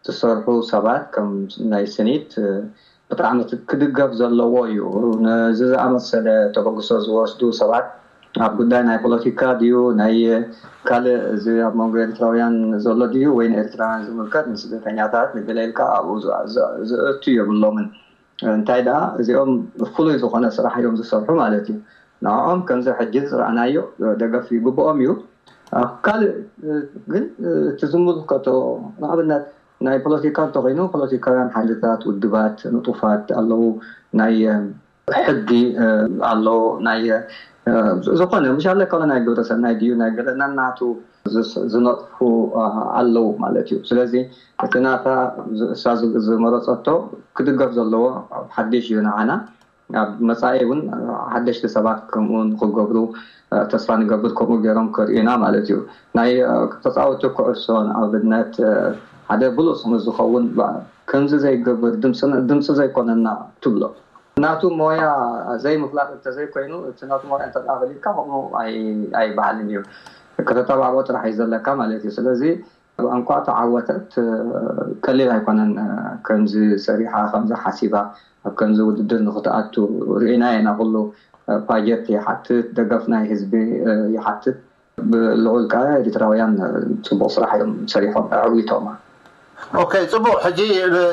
ዝሰርሑ ሰባት ከም ናይ ስኒት ብጣዕሚ ክድገፍ ዘለዎ እዩ። ነዚ ዝኣመሰለ ተበግሶ ዝወስዱ ሰባት ኣብ ጉዳይ ናይ ፖለቲካ ድዩ ናይ ካልእ እዚ ኣብ መንጎ ኤርትራውያን ዘሎ ድዩ ወይ ንኤርትራውያን ዝምልከት ንስደተኛታት ንገለ ኢልካ ኣብኡ ዝእቱ የብሎምን። እንታይ ደኣ እዚኦም ፍሉይ ዝኾነ ስራሕ እዮም ዝሰርሑ ማለት እዩ። ንዕኦም ከምዚ ሕጂ ዝረኣናዮ ደገፍ ይግብኦም እዩ። ካልእ ግን እቲ ዝምልከቶ ንኣብነት ናይ ፖለቲካ እንተኮይኑ ፖለቲካውያን ሓይልታት ውድባት ንጡፋት ኣለዉ ናይ ሕጊ ኣሎ ናይ ዝኾነ ምሻለ ከ ናይ ግብረ ሰናይ ድዩ ናይ ገለ ናናቱ ዝነጥፉ ኣለዉ ማለት እዩ። ስለዚ እቲ ናታ እሳ ዝመረፀቶ ክድገፍ ዘለዎ ሓድሽ እዩ ንዓና ኣብ መፃኢ እውን ሓደሽቲ ሰባት ከምኡ ንክገብሩ ተስፋ ንገብር ከምኡ ገይሮም ከርእዩና ማለት እዩ። ናይ ተፃወቲ ኩዕሶ ንኣብነት ሓደ ብሉፅ ምስ ዝኸውን ከምዚ ዘይገብር ድምፂ ዘይኮነና ትብሎ ናቱ ሞያ ዘይምፍላጥ እንተዘይኮይኑ እቲ ናቱ ሞያ እንተ ፈሊጥካ ከምኡ ኣይበሃልን እዩ። ከተተባብዖ ጥራሕ እዩ ዘለካ ማለት እዩ። ስለዚ እንኳ ተዓወተት ቀሊል ኣይኮነን። ከምዚ ሰሪሓ ከምዚ ሓሲባ ኣብ ከምዚ ውድድር ንክትኣቱ ርኢና ኢና። ኩሉ ፓጀት ይሓትት፣ ደገፍ ናይ ህዝቢ ይሓትት። ብልዑል ከኣ ኤርትራውያን ጽቡቕ ስራሕ እዮም ሰሪሖም ኣዕዊቶማ። ኦኬ፣ ጽቡቕ። ሕጂ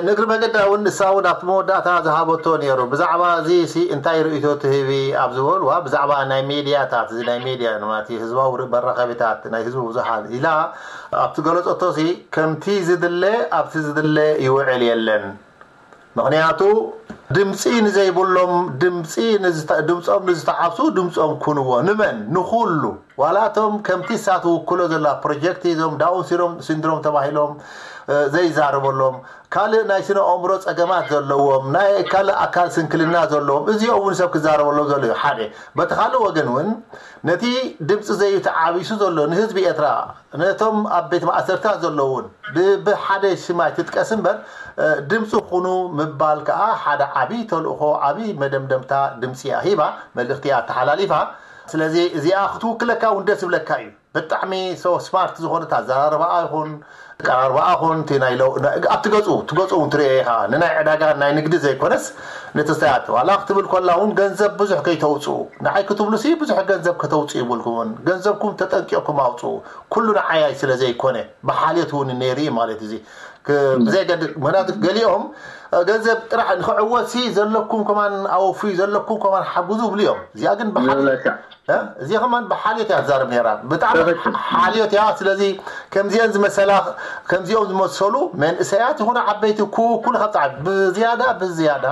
ንእግሪ መገዳ እውን ንሳ እውን ኣብቲ መወዳእታ ዝሃበቶ ነይሩ። ብዛዕባ እዚ ሲ እንታይ ርእይቶ ትህቢ ኣብ ዝበልዋ፣ ብዛዕባ ናይ ሜድያታት፣ እዚ ናይ ሜድያ ማለት ህዝባዊ መራኸቢታት፣ ናይ ህዝቢ ብዙሃን ኢላ ኣብቲ ገለጸቶ ሲ ከምቲ ዝድለ ኣብቲ ዝድለ ይውዕል የለን። ምኽንያቱ ድምፂ ንዘይብሎም ድምፂ ድምፆም ንዝተዓብሱ ድምፆም ኩንዎ። ንመን? ንኩሉ። ዋላ እቶም ከምቲ እሳ ትውክሎ ዘላ ፕሮጀክት እዞም ዳውን ሲሮም ሲንድሮም ተባሂሎም ዘይዛረበሎም ካልእ ናይ ስነ ኣእምሮ ፀገማት ዘለዎም ናይ ካልእ ኣካል ስንክልና ዘለዎም እዚኦም እውን ሰብ ክዛረበሎም ዘሎ እዩ ሓደ። በቲ ካልእ ወገን እውን ነቲ ድምፂ ዘይተዓቢሱ ዘሎ ንህዝቢ ኤርትራ ነቶም ኣብ ቤት ማእሰርታት ዘለውን ብሓደ ሽማይ ትጥቀስ እምበር ድምፂ ኩኑ ምባል ከዓ ሓደ ዓብይ ተልእኮ ዓብይ መደምደምታ ድምፂ እያ ሂባ መልእክቲ እያ ኣተሓላሊፋ። ስለዚ እዚኣ ክትውክለካ እውን ደስ ይብለካ እዩ። ብጣዕሚ so smart ዝኾነት ኣዘራርባኣ ይኹን ቀራርባኣ ኹን እቲ ናይ ለው ኣብቲ ገፁ ትገፁ እውን ትሪኦ ኢኻ ንናይ ዕዳጋ ናይ ንግዲ ዘይኮነስ ነቲ ስታያት ዋላ ክትብል ኮላ እውን ገንዘብ ብዙሕ ከይተውፅኡ ንዓይ ክትብሉ ሲ ብዙሕ ገንዘብ ከተውፅኡ ይብልኩምን ገንዘብኩም ተጠንቂቕኩም ኣውፅኡ። ኩሉ ንዓያይ ስለ ዘይኮነ ብሓልዮት እውን ነይሩ እዩ ማለት እዚ ብዘይገድ ምክንያቱ ገሊኦም ገንዘብ ጥራሕ ንክዕወት ሲ ዘለኩም ከማን ኣወፍዩ ዘለኩም ከማን ሓግዙ ይብሉ እዮም። እዚኣ ግን ብሓ እዚ ከማን ብሓልዮት እያ ትዛረብ ነራ ብጣዕሚ ሓልዮት እያ። ስለዚ ከምዚአን ዝመሰላ ከምዚኦም ዝመሰሉ መንእሰያት ይኹኑ ዓበይቲ ኩሉ ካብ ብዝያዳ ብዝያዳ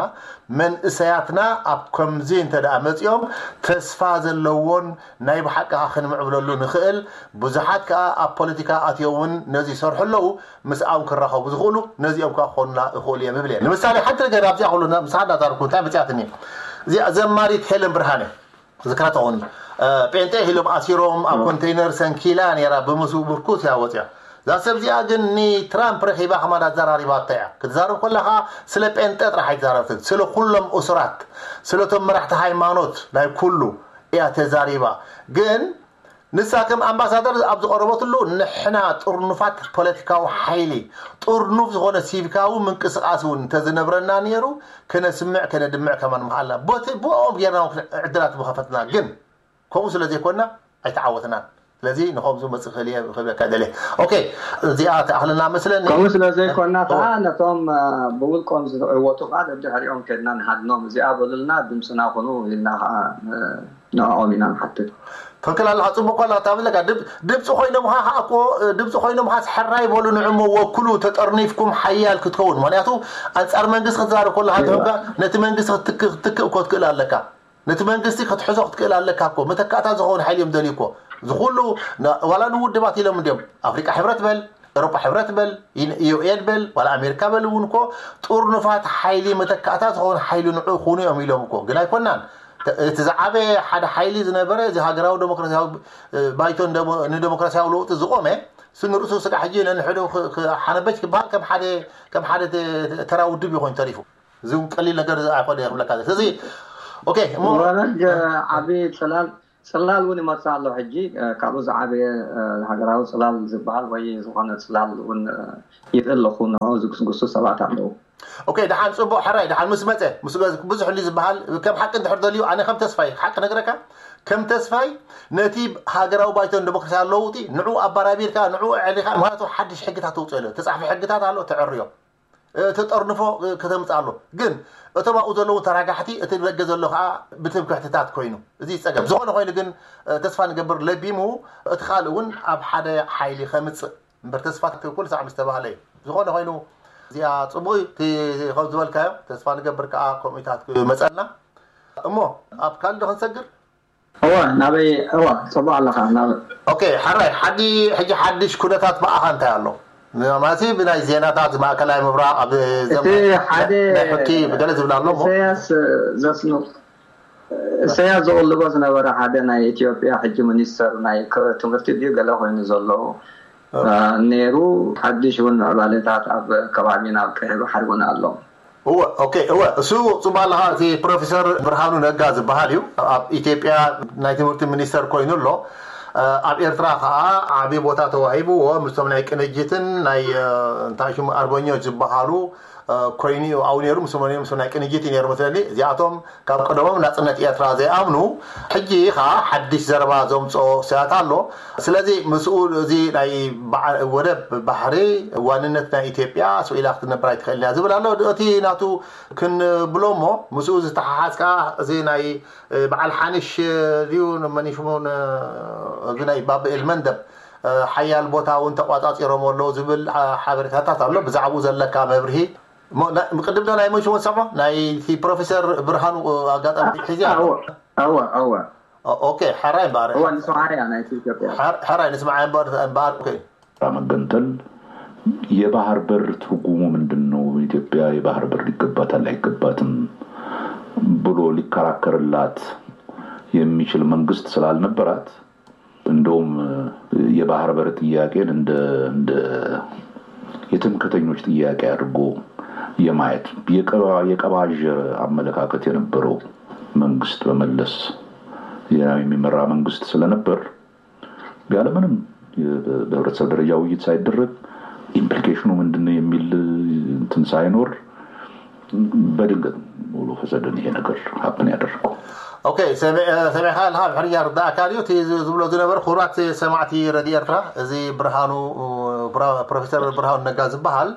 መንእሰያትና ኣብ ከምዚ እንተ ደኣ መጺኦም ተስፋ ዘለዎን ናይ ብሓቂ ከኣ ክንምዕብለሉ ንኽእል ብዙሓት ከኣ ኣብ ፖለቲካ ኣትዮም እውን ነዚ ይሰርሑ ኣለዉ። ምስኣም ክራኸቡ ዝኽእሉ ነዚኦም ከኣ ክኾኑና ይኽእሉ እዮም ይብል እየ። ንምሳሌ ሓንቲ ነገር ኣብዚኣ ኩሉ ምሳና ዛርኩ እንታይ መጺኣትኒ እዚኣ ዘማሪት ሄለን ብርሃነ ዝክራ ተኾኒ ጴንጤ ኢሎም ኣሲሮም ኣብ ኮንቴይነር ሰንኪላ ነራ ብምስኡ ብርኩስ እያ ወፅያ። እዛ ሰብ እዚኣ ግን ንትራምፕ ረኺባ ከማን ኣዘራሪባቶ እያ። ክትዛረብ ከላ ከዓ ስለ ጴንጤ ጥራሕ ኣይትዛረብትን፣ ስለ ኩሎም እሱራት፣ ስለቶም መራሕቲ ሃይማኖት ናይ ኩሉ እያ ተዛሪባ። ግን ንሳ ከም ኣምባሳደር ኣብ ዝቐረበትሉ ንሕና ጥርኑፋት ፖለቲካዊ ሓይሊ ጥርኑፍ ዝኾነ ሲቪካዊ ምንቅስቃስ እውን እንተዝነብረና ነይሩ ከነስምዕ ከነድምዕ ከማን ምሃልና ቦቲ ብኦም ጌርና ዕድላት ምኸፈትና ግን ከምኡ ስለ ዘይኮንና ኣይተዓወትናን። ስለዚ ንኸምዚ መፅእ ክእል እየ ክብለካ ደልየ። ኦኬ፣ እዚኣ ትኣኽለና መስለኒ። ከምኡ ስለ ዘይኮንና ከዓ ነቶም ብውልቆም ዝዕወቱ ከዓ ደድሕሪኦም ከድና ንሃድኖም። እዚኣ በሉልና፣ ድምፅና ኩኑ ኢልና ከዓ ንዕኦም ኢና ንሓትት። ትኽክል ኣለኻ፣ ፅቡቅ ኮላ ታብለካ ድምፂ ኮይኖምኻ ከዓ እኮ ድምፂ ኮይኖምኻስ ሕራይ በሉ ንዕሞ ወክሉ ተጠርኒፍኩም ሓያል ክትከውን ምክንያቱ ኣንፃር መንግስቲ ክትዛረብ ከለካ ተምካ ነቲ መንግስቲ ክትክእ ክትክእ እኮ ትክእል ኣለካ። ነቲ መንግስቲ ክትሕዞ ክትክእል ኣለካ እኮ። መተካእታ ዝኸውን ሓይሊ እዮም ደልዩ እኮ። ዝኹሉ ዋላ ንውድባት ኢሎም እንዲዮም ኣፍሪቃ ሕብረት በል፣ ኤሮጳ ሕብረት በል፣ ዩኤን በል፣ ዋላ ኣሜሪካ በል እውን እኮ ጥርኑፋት ሓይሊ መተካእታ ዝኸውን ሓይሊ ንዑ ኩኑ እዮም ኢሎም እኮ። ግን ኣይኮናን። እቲ ዝዓበየ ሓደ ሓይሊ ዝነበረ እዚ ሃገራዊ ዴሞክራሲያዊ ባይቶ ንዴሞክራሲያዊ ለውጢ ዝቆመ ስንርእሱ ስጋዕ ሕጂ ነንሕዱ ሓነበች ክበሃል ከም ሓደ ተራ ውድብ ይኮን ተሪፉ። እዚ እውን ቀሊል ነገር ኣይኮነ ክብለካ። ስለዚ ኦኬ እሞ ወረግ ዓቢ ጽላል ጽላል እውን ይመጽእ ኣሎ። ሕጂ ካብኡ ዝዓበየ ሃገራዊ ጽላል ዝበሃል ወይ ዝኾነ ጽላል እውን ይርኢ ኣለኹ። ንዑ ዝግስግሱ ሰባት ኣለዉ። ኦኬ፣ ደሓን ጽቡቕ ሕራይ፣ ደሓን ምስ መጸ ምስ ብዙሕ ህሉ ዝበሃል ከም ሓቂ እንድሕር ደልዩ ኣነ ከም ተስፋይ ሓቂ ነግረካ ከም ተስፋይ ነቲ ሃገራዊ ባይቶን ዲሞክራሲያዊ ለውጢ ንዑ ኣባራቢርካ ንዑ ዕሊኻ ምክንያቱ ሓድሽ ሕግታት ተውፅኦ ኣሎ። ተፃሕፊ ሕግታት ኣሎ ተዕርዮ ተጠርንፎ ከተምፅእ ኣሎ። ግን እቶም ኣብኡ ዘለዉ ተራጋሕቲ እቲ ደገ ዘሎ ከዓ ብትምክሕትታት ኮይኑ እዚ ፀገም ዝኾነ ኮይኑ ግን ተስፋ ንገብር ለቢሙ እቲ ካልእ እውን ኣብ ሓደ ሓይሊ ከምፅእ እምበር ተስፋ ትክክል ሳዕ ምስ ተባህለ እዩ። ዝኾነ ኮይኑ እዚኣ ፅቡቅ እዩ እቲ ከም ዝበልካዮ ተስፋ ንገብር ከዓ ከምኡታት ክመፀልና እሞ ኣብ ካልእ ክንሰግር እወ ናበይ እወ ፅቡቅ ኣለካ ናብ ኦኬ ሓራይ ሓዲ ሕጂ ሓድሽ ኩነታት ብኣኻ እንታይ ኣሎ ማለት ብናይ ዜናታት ማእከላይ ምብራቅ ኣብ እቲ ሓደ ናይ ሕኪ ብገለ ዝብል ኣሎ እሞ ኢሳያስ ዘስኑ ኢሳያስ ዝቕልቦ ዝነበረ ሓደ ናይ ኢትዮጵያ ሕጂ ሚኒስተር ናይ ክ- ትምህርቲ ድዩ ገለ ኮይኑ ዘሎ ነይሩ። ሓድሽ እውን ምዕባለታት ኣብ ከባቢና ኣብ ቀይሕ ባሕሪ እውን ኣሎ። እወ ኦኬ እወ እሱ ጽቡቅ ኣለኻ። እቲ ፕሮፌሰር ብርሃኑ ነጋ ዝበሃል እዩ ኣብ ኢትዮጵያ ናይ ትምህርቲ ሚኒስተር ኮይኑ ኣሎ። ኣብ ኤርትራ ከዓ ዓብዪ ቦታ ተዋሂብዎ ምስቶም ናይ ቅንጅትን ናይ እንታይ ሽሙ ኣርበኞች ዝበሃሉ ኮይኑ እዩ ኣብኡ ነይሩ ምስ መን ምስ ናይ ቅንጅት እዩ ነይሩ መስለኒ። እዚኣቶም ካብ ቀደሞም ናጽነት ኤርትራ ዘይኣምኑ ሕጂ ከዓ ሓድሽ ዘረባ ዘምፅኦ ስያት ኣሎ። ስለዚ ምስኡ እዚ ናይ በዓ- ወደብ ባሕሪ ዋንነት ናይ ኢትዮጵያ ስኢላ ክትነብር ኣይትኽእልን እያ ዝብል ኣሎ። እቲ ናቱ ክንብሎ እሞ ምስኡ ዝተሓሓዝ ከዓ እዚ ናይ በዓል ሓንሽ ድዩ መኒሽሙን እዚ ናይ ባብኤል መንደብ ሓያል ቦታ እውን ተቋጻጺሮም ኣለዉ ዝብል ሓበሬታታት ኣሎ። ብዛዕባኡ ዘለካ መብርሂ እሞ ና- ቅድም ዶ ናይ መሽሞን ሰሞ ናይ እቲ ፕሮፌሰር ብርሃኑ ኣጋጣሚ ሒዚ ኣሎ። እወ እወ እወ ኦኬ ሓራይ እምበኣር እወ ንስምዓያ ናይቲ ኢትዮጵያ ሓር- ሓራይ ንስምዓ እምበኣር እምበኣር ኦኬ መገንጠል የባህር በር ትርጉሙ ምንድን ነው? ኢትዮጵያ የባህር በር ይገባታል አይገባትም ብሎ ሊከራከርላት የሚችል መንግስት ስላልነበራት እንደውም የባህር በር ጥያቄን እንደ እንደ የትምክህተኞች ጥያቄ አድርጎ የማየት የቀባ- የቀባጀረ አመለካከት የነበረው መንግስት በመለስ ዜናዊ የሚመራ መንግስት ስለነበር ያለምንም በህብረተሰብ ደረጃ ውይይት ሳይደረግ ኢምፕሊኬሽኑ ምንድነው የሚል እንትን ሳይኖር በድንገት ሙሉ ፈሰደን ይሄ ነገር ሀፕን ያደረገው። ኦኬ ሰሚዕካ ኣለካ ብሕርያ ርዳእካ ድዩ እቲ ዝብሎ ዝነበር ክቡራት ሰማዕቲ ረድዮ ኤርትራ እዚ ብርሃኑ ፕሮፌሰር ብርሃኑ ነጋ ዝበሃል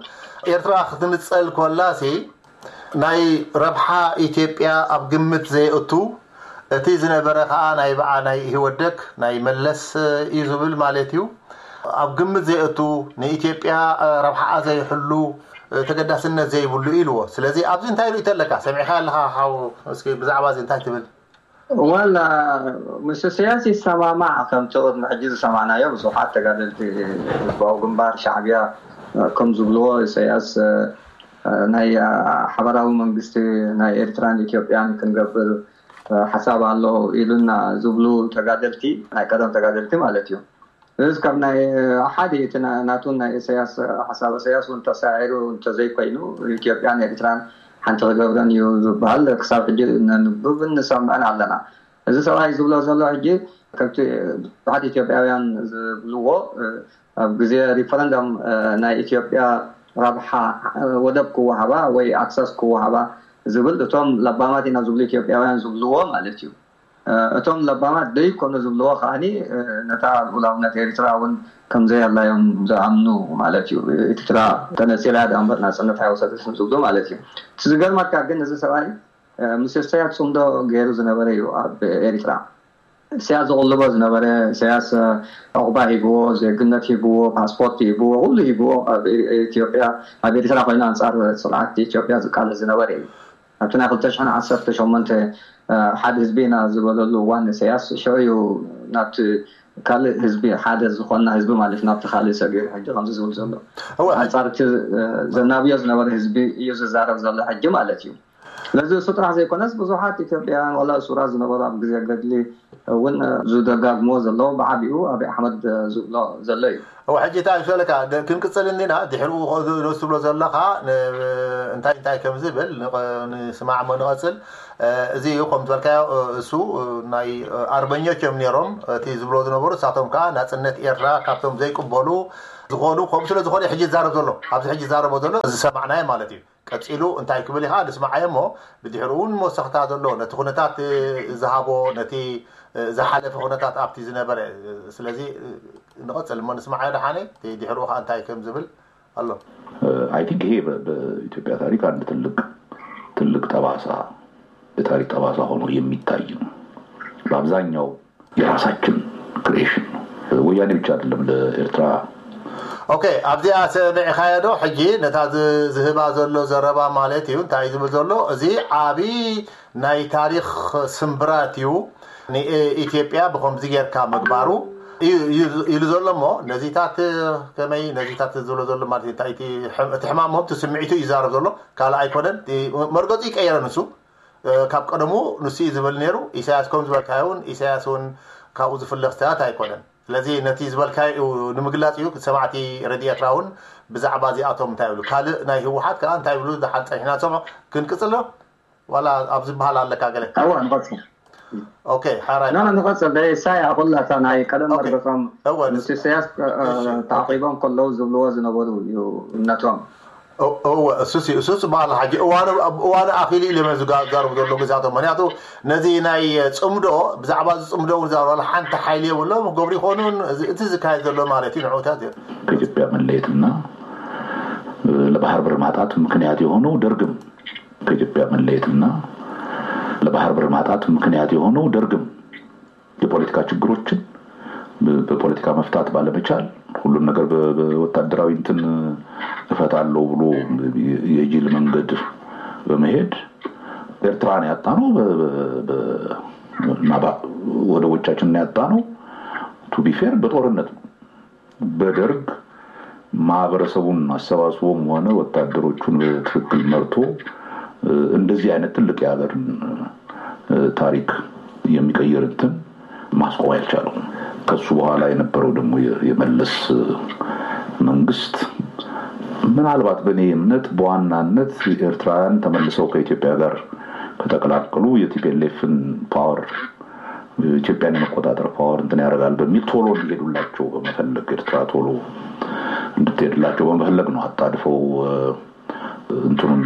ኤርትራ ክትንፀል ኮላሲ ናይ ረብሓ ኢትዮጵያ ኣብ ግምት ዘየእቱ እቲ ዝነበረ ከዓ ናይ በዓ ናይ ኢህወደግ ናይ መለስ እዩ ዝብል ማለት እዩ ኣብ ግምት ዘየእቱ ንኢትዮጵያ ረብሓኣ ዘይሕሉ ተገዳስነት ዘይብሉ ኢልዎ ስለዚ ኣብዚ እንታይ ርእቶ ኣለካ ሰሚዕካ ኣለካ ሓው እስኪ ብዛዕባ እዚ እንታይ ትብል ወላ ምስ ኢሳያስ ይሰማማዕ ከምቲ ቅድሚ ሕጂ ዝሰማዕናዮ ብዙሓት ተጋደልቲ ህዝባዊ ግንባር ሻዕብያ ከም ዝብልዎ ኢሳያስ ናይ ሓበራዊ መንግስቲ ናይ ኤርትራን ኢትዮጵያን ክንገብር ሓሳብ ኣሎ ኢሉና ዝብሉ ተጋደልቲ ናይ ቀደም ተጋደልቲ ማለት እዩ እዚ ካብ ናይ ሓደ እቲ ናቱን ናይ ኢሳያስ ሓሳብ ኢሳያስ እውን ተሳዒሩ እንተዘይኮይኑ ኢትዮጵያን ኤርትራን ሓንቲ ክገብረን እዩ ዝበሃል ክሳብ ሕጂ ነንብብን ንሰምዕን ኣለና። እዚ ሰብኣይ ዝብሎ ዘሎ ሕጂ ከምቲ ብዙሓት ኢትዮጵያውያን ዝብልዎ ኣብ ግዜ ሪፈረንደም ናይ ኢትዮጵያ ረብሓ ወደብ ክወሃባ ወይ ኣክሰስ ክወሃባ ዝብል እቶም ለባማት ኢና ዝብሉ ኢትዮጵያውያን ዝብልዎ ማለት እዩ። እቶም ለባማት ደይኮኑ ዝብልዎ ከዓኒ ነታ ልኡላውነት ኤርትራ እውን ከምዘየላ እዮም ዝኣምኑ ማለት እዩ። ኤርትራ ተነፂላ እያ ደኣ እምበር ናፅነት ኣይወሰደትን ዝብሉ ማለት እዩ። እቲ ዝገርመካ ግን እዚ ሰብኣይ ምስ ኢሳያስ ፅምዶ ገይሩ ዝነበረ እዩ ኣብ ኤርትራ። ኢሳያስ ዝቕልቦ ዝነበረ ኢሳያስ ዑቕባ ሂብዎ፣ ዜግነት ሂብዎ፣ ፓስፖርት ሂብዎ፣ ኩሉ ሂብዎ ኣብ ኢትዮጵያ ኣብ ኤርትራ ኮይኑ ኣንፃር ስርዓት ኢትዮጵያ ዝቃለስ ዝነበረ እዩ። ኣብቲ ናይ ክልተ ሽሕን ዓሰርተ ሸሞንተ ሓደ ህዝቢ ኢና ዝበለሉ እዋን ኢሳያስ ሽዑ እዩ ናብቲ ካልእ ህዝቢ ሓደ ዝኾንና ህዝቢ ማለት ናብቲ ካልእ ሰጊሩ ሕጂ ከምዚ ዝብል ዘሎ ኣንፃር እቲ ዘናብዮ ዝነበረ ህዝቢ እዩ ዝዛረብ ዘሎ ሕጂ ማለት እዩ። ስለዚ እሱ ጥራሕ ዘይኮነስ ብዙሓት ኢትዮጵያውያን ዋላ እሱራት ዝነበሩ ኣብ ግዜ ገድሊ እውን ዝደጋግሞ ዘሎ ብዓቢኡ ኣብይ ኣሕመድ ዝብሎ ዘሎ እዩ። እው ሕጂ እንታይ ይፈለካ ክንቅፅል እንዲና ድሕሪኡ ነሱ ትብሎ ዘለካ እንታይ እንታይ ከም ዝብል ንስማዕ ሞ ንቐፅል። እዚ እዩ ከም ዝበልካዮ እሱ ናይ ኣርበኞች እዮም ነይሮም እቲ ዝብሎ ዝነበሩ እሳቶም ከዓ ናፅነት ኤርትራ ካብቶም ዘይቅበሉ ዝኾኑ ከምኡ ስለ ዝኾነ ሕጂ ይዛረብ ዘሎ ኣብዚ ሕጂ ይዛረቦ ዘሎ ዝሰማዕናዮ ማለት እዩ። ቀፂሉ እንታይ ክብል ኢኻ ንስማዓዮ እሞ ብድሕሩ እውን መወሰኽታ ዘሎ ነቲ ኩነታት ዝሃቦ ነቲ ዝሓለፈ ኩነታት ኣብቲ ዝነበረ ስለዚ ንቐፅል እሞ ንስማዓዮ ደሓነ ድሕሩ ከዓ እንታይ ከም ዝብል ኣሎ። I think ይሄ በኢትዮጵያ ታሪክ አንድ ትልቅ ትልቅ ጠባሳ የታሪክ ጠባሳ ሆኖ የሚታይ ነው። በአብዛኛው የራሳችን creation ነው። ወያኔ ብቻ አይደለም ለኤርትራ okay ኣብዚኣ ሰሚዕኻዮ ዶ ሕጂ ነታ ዝህባ ዘሎ ዘረባ ማለት እዩ እንታይ ዝብል ዘሎ እዚ ዓብዪ ናይ ታሪኽ ስምብራት እዩ ንኢትዮጵያ ብከምዚ ጌርካ ምግባሩ ኢሉ ዘሎ እሞ ነዚታት ከመይ ነዚታት ዝብሎ ዘሎ ማለት እዩ እቲ ሕማሞም እቲ ስምዒቱ ይዛረብ ዘሎ ካልእ ኣይኮነን መርገፁ ይቀየረ ንሱ ካብ ቀደሙ ንሱ እዩ ዝብል ነይሩ ኢሳያስ ከም ዝበልካዮ እውን ኢሳያስ እውን ካብኡ ዝፍለ ክስተታት ኣይኮነን ስለዚ ነቲ ዝበልካዮ እዩ ንምግላፅ እዩ ሰማዕቲ ረድዮ ኤርትራ እውን ብዛዕባ እዚኣቶም እንታይ ይብሉ ካልእ ናይ ህወሓት ከዓ እንታይ ይብሉ ደሓን ፀኒሕና ንሰምዖ ክንቅፅሎ ዋላ ኣብ ዝበሃል ኣለካ ገለ እወ ንቐፅል ኦኬ ሓራይ ኖ ኖ ንቐፅል ደሳይ ኣኹላታ ናይ ቀደም ኦኬ። መርገፆም እወ፣ ምስ ኢሳያስ እ፣ እ፣ ተዓቂቦም ከለዉ ዝብልዎ ዝነበሩ እዩ እምነቶም እወ እሱስ እዩ እሱስ ዝበሃል ሓጂ እዋኑ እዋኑ ኣኺሉ ኢሉ እዮም ዝዛረቡ ዘለዉ ግዛቶም ምክንያቱ ነዚ ናይ ፅምዶ ብዛዕባ እዚ ፅምዶ እውን ዝዛረቡ ሓንቲ ሓይሊ የብሎም ክገብሩ ይኾኑን እዚ- እቲ ዝካየድ ዘሎ ማለት እዩ ንዕውታት እዮም ከኢትዮጵያ መለየትና ለባህር በር ማጣት ምክንያት የሆነው ደርግም ከኢትዮጵያ መለየትና ለባህር በር ማጣት ምክንያት የሆነው ደርግም የፖለቲካ ችግሮችን በፖለቲካ መፍታት ባለመቻል ሁሉን ነገር በወታደራዊ እንትን እፈታለሁ ብሎ የጅል መንገድ በመሄድ ኤርትራን ያጣነው ወደቦቻችንን ያጣነው to be fair በጦርነት ነው። በደርግ ማህበረሰቡን አሰባስቦም ሆነ ወታደሮቹን በትክክል መርቶ እንደዚህ አይነት ትልቅ የሀገርን ታሪክ የሚቀይር እንትን ማስቆም አልቻሉም። ከሱ በኋላ የነበረው ደግሞ የመለስ መንግስት ምናልባት በእኔ እምነት በዋናነት ኤርትራውያን ተመልሰው ከኢትዮጵያ ጋር ከተቀላቀሉ የ ቲ ፒ ኤል ኤፍን power ኢትዮጵያን የመቆጣጠር power እንትን ያደርጋል በሚል ቶሎ እንዲሄዱላቸው በመፈለግ ኤርትራ ቶሎ እንድትሄድላቸው በመፈለግ ነው አጣድፈው እንትኑን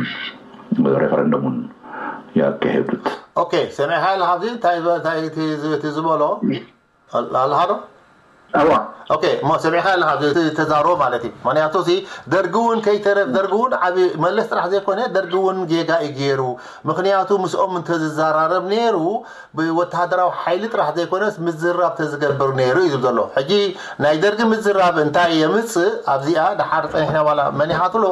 referendum ኡን ያካሄዱት። Okay ሰሚዕካ ኣለኻ ኣብዚ እንታይ እንታይ ዝበሎ ኣለኻ ዶ? እዋ ኦኬ እሞ ሰሚዕካ ኣለኻ ተዛሮ ማለት እዩ። ምክንያቱ ሲ ደርጊ እውን ከይተረፍ ደርጊ እውን ዓብ መለስ ጥራሕ ዘይኮነ ደርጊ እውን ጌጋ እዩ ገይሩ። ምክንያቱ ምስኦም እንተዝዘራረብ ነይሩ ብወተሃደራዊ ሓይሊ ጥራሕ ዘይኮነስ ምዝራብ ተዝገብር ነይሩ እዩ ዝብል ዘሎ። ሕጂ ናይ ደርጊ ምዝራብ እንታይ የምፅእ ኣብዚኣ ደሓር ፀኒሕና ዋላ መን ኢኻ ትብሎ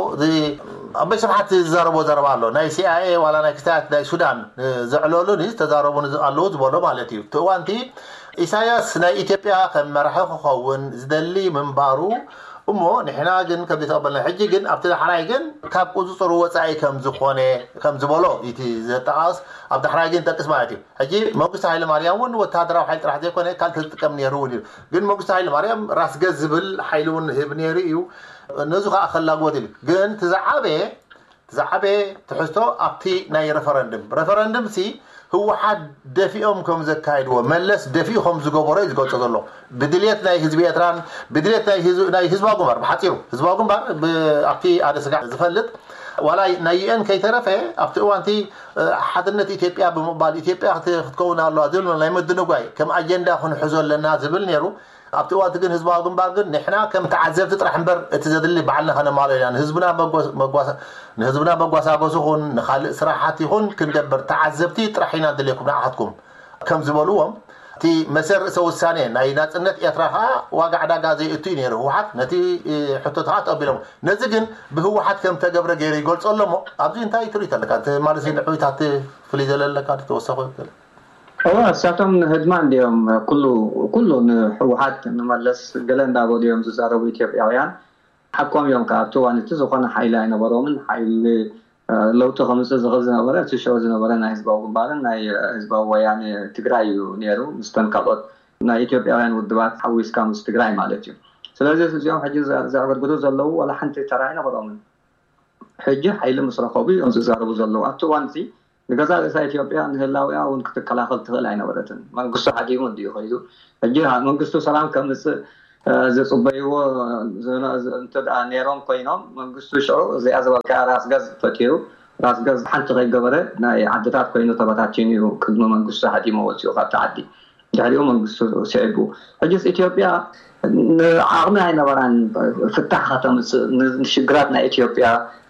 ኣቦይ ስብሓት ዝዛረቦ ዘረባ ኣሎ ናይ ሲኣይኤ ዋላ ናይ ክስታያት ናይ ሱዳን ዘዕለሉኒ ዝተዛረቡኒ ኣለዉ ዝበሎ ማለት እዩ። እቲ እዋንቲ ኢሳያስ ናይ ኢትዮጵያ ከም መራሒ ክኸውን ዝደሊ ምንባሩ እሞ ንሕና ግን ከም ዘይተቐበልና ሕጂ ግን ኣብቲ ዳሕራይ ግን ካብ ቁፅፅሩ ወፃኢ ከም ዝኾነ ከም ዝበሎ እቲ ዘጠቓስ ኣብ ዳሕራይ ግን ጠቅስ ማለት እዩ። ሕጂ መንግስቲ ሃይለ ማርያም እውን ወታደራዊ ሓይሊ ጥራሕ ዘይኮነ ካልእ ተዝጥቀም ነይሩ እውን እዩ። ግን መንግስቲ ሃይለ ማርያም ራስ ገዝ ዝብል ሓይሊ እውን ህብ ነይሩ እዩ። ነዚ ከዓ ከላግቦት ኢሉ ግን ትዝዓበየ ዝዓበየ ትሕዝቶ ኣብቲ ናይ referendum referendum ሲ ህወሓት ደፊኦም ከም ዘካይድዎ መለስ ደፊኡ ከም ዝገበሮ እዩ ዝገልፆ ዘሎ። ብድልየት ናይ ህዝቢ ኤርትራን ብድልየት ናይ ህዝባዊ ግንባር ብሓፂሩ ህዝባዊ ግንባር ኣብቲ ኣደ ስጋዕ ዝፈልጥ ዋላ ናይ ዩኤን ከይተረፈ ኣብቲ እዋንቲ ሓድነት ኢትዮጵያ ብምቕባል ኢትዮጵያ ክትከውን ኣለዋ ዝብል ናይ ምድንጓይ ከም ኣጀንዳ ክንሕዞ ኣለና ዝብል ነይሩ። ኣብቲ እዋንቲ ግን ህዝባዊ ግንባር ግን ንሕና ከም ተዓዘብቲ ጥራሕ እምበር እቲ ዘድሊ ባዕልና ከነማልኦ ኢና ንህዝብና መጓሳጎሲ ኹን ንካልእ ስራሓት ይኹን ክንገብር ተዓዘብቲ ጥራሕ ኢና ንደልየኩም ንዓኻትኩም ከም ዝበልዎም እቲ መሰል ርእሰ ውሳኔ ናይ ናፅነት ኤርትራ ከዓ ዋጋ ዕዳጋ ዘይእቱ እዩ ነይሩ ህወሓት ነቲ ሕቶት ከዓ ተቐቢሎም ነዚ ግን ብህወሓት ከም ተገብረ ገይሩ ይገልፆ ኣሎ እሞ ኣብዚ እንታይ ትርኢት ኣለካ ማለት ንዕዊታት ፍልይ ዘለለካ ተወሰኹ እወ እሳቶም ንህድማ እንዲኦም ኩሉ ኩሉ ንህወሓት ንመለስ ገለ እንዳበሉ እዮም ዝዛረቡ ኢትዮጵያውያን ሓቆም እዮም ከዓ ኣብቲ እዋን እቲ ዝኾነ ሓይሊ ኣይነበሮምን ሓይሊ ለውጢ ከምፅእ ዝኽእል ዝነበረ እቲ ሽዑ ዝነበረ ናይ ህዝባዊ ግንባርን ናይ ህዝባዊ ወያነ ትግራይ እዩ ነይሩ። ምስተን ካልኦት ናይ ኢትዮጵያውያን ውድባት ሓዊስካ ምስ ትግራይ ማለት እዩ። ስለዚ እዚኦም ሕጂ ዘዕገርግሩ ዘለዉ ዋላ ሓንቲ ተራ ኣይነበሮምን። ሕጂ ሓይሊ ምስ ረኸቡ እዮም ዝዛረቡ ዘለዉ። ኣብቲ እዋን እዚ ንገዛ ርእሳ ኢትዮጵያ ንህላዊኣ እውን ክትከላኸል ትኽእል ኣይነበረትን። መንግስቱ ሓዲሙ እንድዩ ከይዱ። ሕጂ መንግስቱ ሰላም ከምፅእ ዝፅበይዎ እንተ ነይሮም ኮይኖም መንግስቱ ሽዑ እዚኣ ዝበልካ ራስ ገዝ ፈጢሩ ራስ ገዝ ሓንቲ ከይገበረ ናይ ዓድታት ኮይኑ ተበታቲኑ እዩ ቅድሚ መንግስቱ ሓዲሞ ወፂኡ ካብቲ ዓዲ። ድሕሪኡ መንግስቱ ስዒቡ። ሕጅስ ኢትዮጵያ ዓቕሚ ኣይነበራን ፍታሕ ከተምፅእ። ንሽግራት ናይ ኢትዮጵያ፣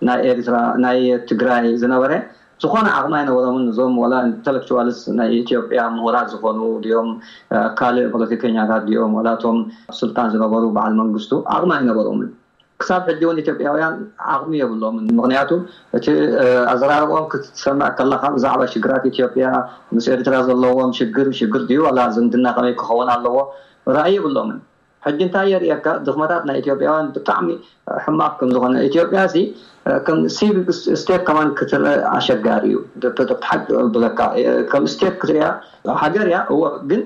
ናይ ኤርትራ፣ ናይ ትግራይ ዝነበረ ዝኾነ ዓቕሚ ኣይነበሮምን። እዞም ዋላ ኢንተሌክቹዋልስ ናይ ኢትዮጵያ ምሁራት ዝኾኑ ድዮም ካልእ ፖለቲከኛታት ድዮም ዋላ እቶም ስልጣን ዝነበሩ በዓል መንግስቱ ዓቕሚ ኣይነበሮምን። ክሳብ ሕጂ እውን ኢትዮጵያውያን ዓቕሚ የብሎምን። ምክንያቱ እቲ ኣዘራርቦም ክትሰምዕ ከለካ ብዛዕባ ሽግራት ኢትዮጵያ ምስ ኤርትራ ዘለዎም ሽግር ሽግር ድዩ ዋላ ዝምድና ከመይ ክኸውን ኣለዎ ራእይ የብሎምን። ሕጂ እንታይ የርእየካ ድኽመታት ናይ ኢትዮጵያውያን ብጣዕሚ ሕማቅ ከም ዝኾነ። ኢትዮጵያ ሲ ከም ሲቪክ ስቴት ከማን ክትርኢ ኣሸጋሪ እዩ። ሓቂ ብለካ ከም ስቴት ክትሪያ ሃገር እያ እዎ ግን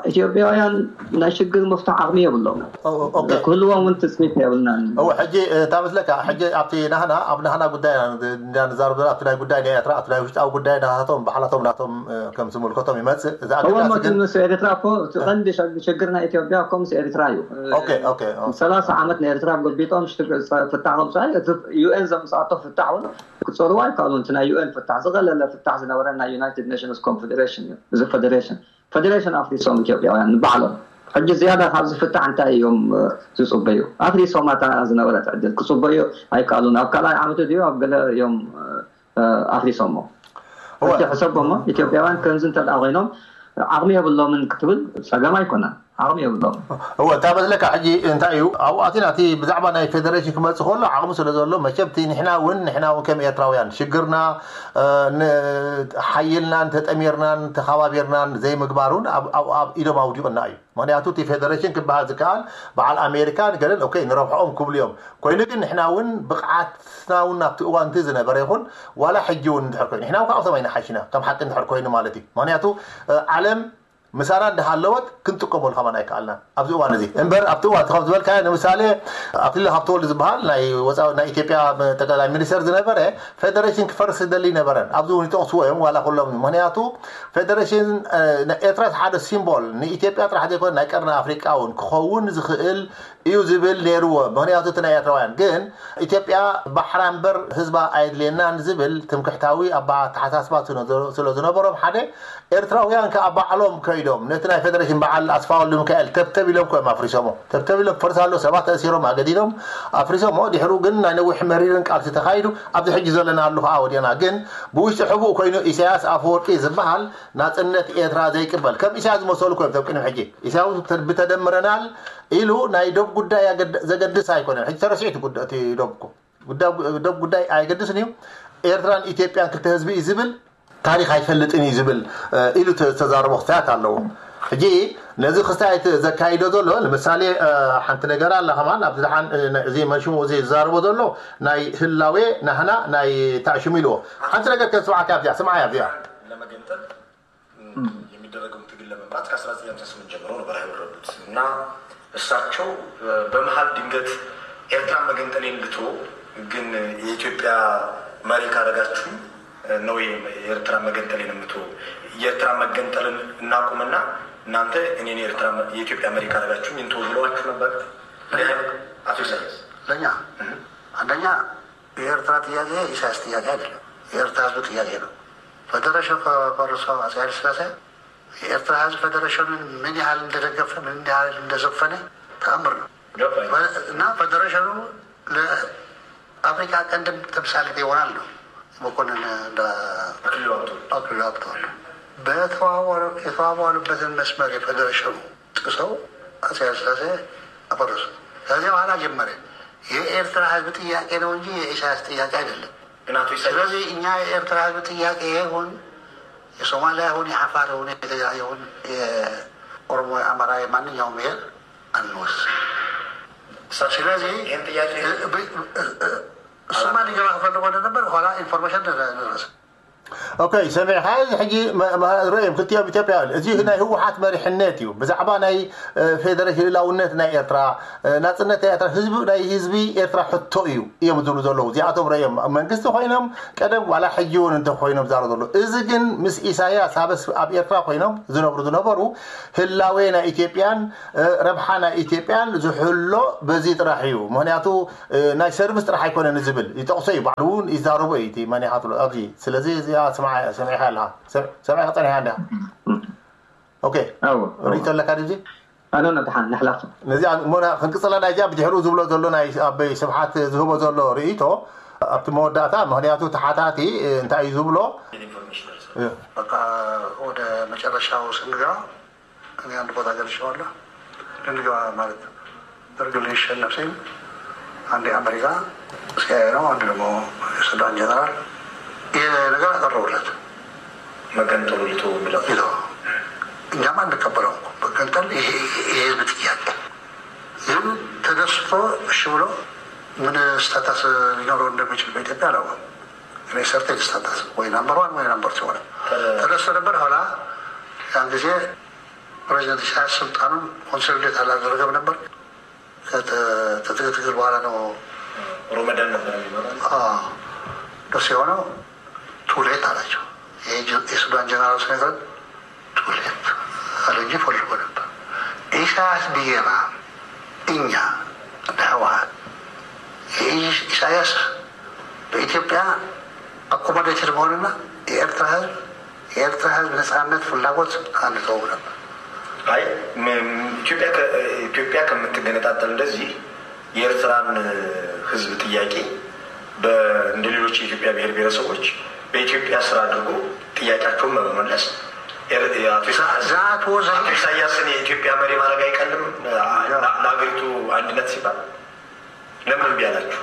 ኢትዮጵያውያን ናይ ሽግር ምፍታሕ ዓቕሚ የብሎም። ክህልዎም እውን ትፅቢት የብልናን። እወ ሕጂ እታ መስለካ ሕጂ ኣብቲ ናህና ኣብ ናህና ጉዳይ ኢና ንዛረብ ዘለና ኣብቲ ናይ ጉዳይ ናይ ኤርትራ ኣብቲ ናይ ውሽጣዊ ጉዳይ ናታቶም ባዕላቶም ናቶም ከም ዝምልከቶም ይመፅእ። እዚ ኣገዳሲ ግን ምስ ኤርትራ እኮ እቲ ቀንዲ ሸግ- ሽግር ናይ ኢትዮጵያ እኮ ምስ ኤርትራ እዩ። ኦኬ ኦኬ ኦ። ሰላሳ ዓመት ንኤርትራ ጎቢጦም ሽግ- ፍታሕ ከምፅኣይ እቲ ዩኤን ዘምፅኣቶ ፍታሕ እውን ክፀርዎ ኣይከኣሉን። እቲ ናይ ዩኤን ፍታሕ ዝቐለለ ፍታሕ ዝነበረ ናይ ዩናይትድ ኔሽንስ ኮንፌዴሬሽን እዩ። እዚ ፌዴሬሽን ፌደሬሽን ኣፍሪሶም ኢትዮጵያውያን ንባዕሎም ሕጂ ዝያዳ ካብ ዝፍታሕ እንታይ እዮም ዝፅበዩ? ኣፍሪሶም ኣታ ዝነበረት ዕድል ክፅበዩ ኣይከኣሉን። ኣብ ካልኣይ ዓመቱ ድዩ ኣብ ገለ እዮም ኣፍሪሶሞ። ሕጂ ሕሰቦሞ ኢትዮጵያውያን ከምዚ እንተ ኮይኖም ዓቕሚ የብሎምን ክትብል ፀገም ኣይኮነን። ዓቕሚ የብሎም። እወ እታ መስለካ ሕጂ እንታይ እዩ ኣብኡ ኣቲና እቲ ብዛዕባ ናይ ፌደሬሽን ክመፅእ ከሎ ዓቕሚ ስለ ዘሎ መቸም እቲ ንሕና እውን ንሕና እውን ከም ኤርትራውያን ሽግርና ሓይልናን ተጠሚርናን ተኸባቢርናን ዘይምግባር እውን ኣብ ኢዶም ኣውዲቑና እዩ። ምክንያቱ እቲ ፌደሬሽን ክበሃል ዝከኣል በዓል ኣሜሪካ ንገለን ኦኬ ንረብሐኦም ክብሉ እዮም። ኮይኑ ግን ንሕና እውን ብቕዓትና እውን ናብቲ እዋን እቲ ዝነበረ ይኹን ዋላ ሕጂ እውን እንድሕር ኮይኑ ንሕና እውን ካብኣቶም ኣይንሓሽና ከም ሓቂ እንድሕር ኮይኑ ማለት እዩ። ምክንያቱ ዓለም ምሳና እንዳሃለወት ክንጥቀመሉ ከማን ኣይከኣልናን ኣብዚ እዋን እዚ እምበር ኣብቲ እዋን ከም ዝበልካዮ ንምሳሌ ኣክሊሉ ሃብተወልድ ዝበሃል ናይ ወፃኢ ናይ ኢትዮጵያ ጠቅላይ ሚኒስተር ዝነበረ ፌደሬሽን ክፈርስ ዝደሊ ነበረን ኣብዚ እውን ይጠቕስዎ እዮም ዋላ ኩሎም ምክንያቱ ፌደሬሽን ኤርትራ ሓደ ሲምቦል ንኢትዮጵያ ጥራሕ ዘይኮነ ናይ ቀርኒ ኣፍሪቃ እውን ክኸውን ዝኽእል እዩ ዝብል ነይርዎ። ምክንያቱ እቲ ናይ ኤርትራውያን ግን ኢትዮጵያ ባሕራ እምበር ህዝባ ኣየድልየናን ዝብል ትምክሕታዊ ኣተሓሳስባ ስለ ዝነበሮም ሓደ ኤርትራውያን ከዓ ባዕሎም ከይዶም ነቲ ናይ ፌደሬሽን በዓል ኣስፋ ወልደሚካኤል ተብተብ ኢሎም ኮዮም ኣፍሪሶሞ። ተብተብ ኢሎም ፈርስ ኣሎ ሰባት ተእሲሮም ኣገዲዶም ኣፍሪሶሞ። ድሕሩ ግን ናይ ነዊሕ መሪርን ቃልሲ ተኻይዱ ኣብዚ ሕጂ ዘለናሉ ከዓ ወዲና ግን ብውሽጢ ሕቡእ ኮይኑ ኢሳያስ ኣፈወርቂ ዝበሃል ናፅነት ኤርትራ ዘይቅበል ከም ኢሳያስ ዝመሰሉ ኮይኖም ቶም ቅድሚ ሕጂ ኢሳያስ ብተደምረናል ኢሉ ናይ ዶብ ጉዳይ ዘገድስ ኣይኮነን። ሕጂ ተረሲዑ እቲ ዶብ እኮ ዶብ ጉዳይ ኣይገድስን እዩ። ኤርትራን ኢትዮጵያን ክልተ ህዝቢ እዩ ዝብል ታሪክ ኣይፈልጥን እዩ ዝብል ኢሉ ዝተዛረቦ ክስታያት ኣለዎ። ሕጂ ነዚ ክስታያት ዘካይዶ ዘሎ ንምሳሌ ሓንቲ ነገር ኣላ ከማን ኣብዚ ደሓን እዚ መንሽሙ እዚ ዝዛረቦ ዘሎ ናይ ህላዌ ናህና ናይ ታዕሽሙ ኢልዎ ሓንቲ ነገር ከስምዓካ ኣብዚኣ ስምዓያ ኣብዚኣ የሚደረገውን ትግል ለመምራት ከ1958 ጀምሮ ነበር የወረዱት እና እሳቸው በመሀል ድንገት ኤርትራ መገንጠሌን ልቶ ግን የኢትዮጵያ መሪ ካረጋችሁኝ ነው የኤርትራ መገንጠሌን የምትወ የኤርትራ መገንጠልን እናቁምና እናንተ እኔን የኢትዮጵያ መሪ ካረጋችሁኝ እንተው ብለዋችሁ ነበር። አቶ ኢሳያስ ለእኛ አንደኛ የኤርትራ ጥያቄ የኢሳያስ ጥያቄ አይደለም፣ የኤርትራ ህዝብ ጥያቄ ነው። ፈደረሽን ፈርሶ አጼ ኃይለ ሥላሴ የኤርትራ ህዝብ ፈደረሽኑን ምን ያህል እንደደገፈ ምን ያህል እንደዘፈነ ተአምር ነው። እና ፈደረሽኑ ለአፍሪካ ቀንድም ተምሳሌት ይሆናል ነው መኮንን አክሊሉ ሀብተወልድ የተዋዋሉበትን መስመር የፈደረሽኑ ጥሰው አጼ ኃይለ ሥላሴ አፈረሱ። ከዚያ በኋላ ጀመረ። የኤርትራ ህዝብ ጥያቄ ነው እንጂ የኢሳያስ ጥያቄ አይደለም። ስለዚህ እኛ የኤርትራ ህዝብ ጥያቄ ይሁን የሶማሊያ ይሁን የአፋር ይሁን የትግራይ ይሁን የኦሮሞ የአማራ የማንኛውም ብሔር አንወስን። ስለዚህ እሱማ ሊገባ ክፈልጎ ነበር። ኋላ ኢንፎርሜሽን ደረሰ። ኦኬ፣ ሰሚዕካ። እዚ ሕጂ መ- መ- ርእዮም ክልቲኦም ኢትዮጵያ፣ እዚ ናይ ህወሓት መሪሕነት እዩ። ብዛዕባ ናይ ፌደሬሽን ልእላውነት ናይ ኤርትራ፣ ናፅነት ናይ ኤርትራ፣ ህዝቢ ናይ ህዝቢ ኤርትራ ሕቶ እዩ እዮም ዝብሉ ዘለዉ። እዚኣቶም ርእዮም መንግስቲ ኮይኖም ቀደም ዋላ ሕጂ እውን እንተኮይኖም ዛረቡ ዘለዉ። እዚ ግን ምስ ኢሳያስ ኣብ ኣብ ኤርትራ ኮይኖም ዝነብሩ ዝነበሩ፣ ህላዌ ናይ ኢትዮጵያን ረብሓ ናይ ኢትዮጵያን ዝሕሎ በዚ ጥራሕ እዩ። ምክንያቱ ናይ ሰርቪስ ጥራሕ ኣይኮነን ዝብል ይጠቕሶ እዩ። ባዕሉ እውን ይዛረቦ እዩ እቲ መን ኢኻ ትብሎ ኣብዚ። ስለዚ እዚኣ ስምዓ- ሰሚዕካ ኣለኻ። ሰም- ሰሚዕካ ጸኒሕካ እንዲኻ። ኦኬ። ኣዎ ርእይቶ ኣለካ ድዚ? ኣነ ነድሓን ንሕላፍ ነዚኣ እሞ ና- ክንቅጽላ ናይዚኣ ብድሕሪኡ ዝብሎ ዘሎ ናይ ኣበይ ስብሓት ዝህቦ ዘሎ ርእይቶ ኣብቲ መወዳእታ። ምክንያቱ ተሓታቲ እንታይ እዩ ዝብሎ? በቃ ወደ መጨረሻው ስንገባ እኔ አንድ ቦታ ገልጨዋለሁ። ልንገባ ማለት ደርግ ሊሸነፍ ሲል አንዴ አሜሪካ ሲአይኤ ነው፣ አንድ ደግሞ የሱዳን ጀነራል ይሄ ነገር አቀረቡለት። መገንጠሉ ልተው ብለው ይለው እኛም አንቀበለው። መገንጠል ይሄ የህዝብ ጥያቄ ግን ተደስቶ እሺ ብሎ ምን ስታታስ ሊኖረው እንደሚችል በኢትዮጵያ አላውቅም። እኔ ሰርቴን ስታታስ ወይ ናምበር ዋን ወይ ናምበር ቱ ሆነ ተደስቶ ነበር። ኋላ ያን ጊዜ ፕሬዚደንት ኢሳያስ ስልጣኑን ኮንሶሊዴት አላደረገም ነበር። ከትግል በኋላ ነው ሮመዳን ነበር የሚመራው። ደስ የሆነው ቱሌት አላቸው። የሱዳን ጀነራል ሲነግረን ቱሌት አለ እንጂ ፈልጎ ነበር። ኢሳያስ ብዬና እኛ እንደ ህወሓት ኢሳያስ በኢትዮጵያ አኮሞዴትድ መሆንና የኤርትራ ህዝብ የኤርትራ ህዝብ ነጻነት ፍላጎት አንተውም ነበር። አይ ም- ኢትዮጵያ ከ- ኢትዮጵያ ከምትገነጣጠል እንደዚህ የኤርትራን ህዝብ ጥያቄ በ- እንደ ሌሎች የኢትዮጵያ ብሔር ብሔረሰቦች በኢትዮጵያ ስራ አድርጎ ጥያቄያቸውን በመመለስ ኤር- አቶ ኢሳ- That was አቶ ኢሳያስን የኢትዮጵያ መሪ ማድረግ አይቀልም? ለ- ለሀገሪቱ አንድነት ሲባል ለምን እምቢ አላችሁ?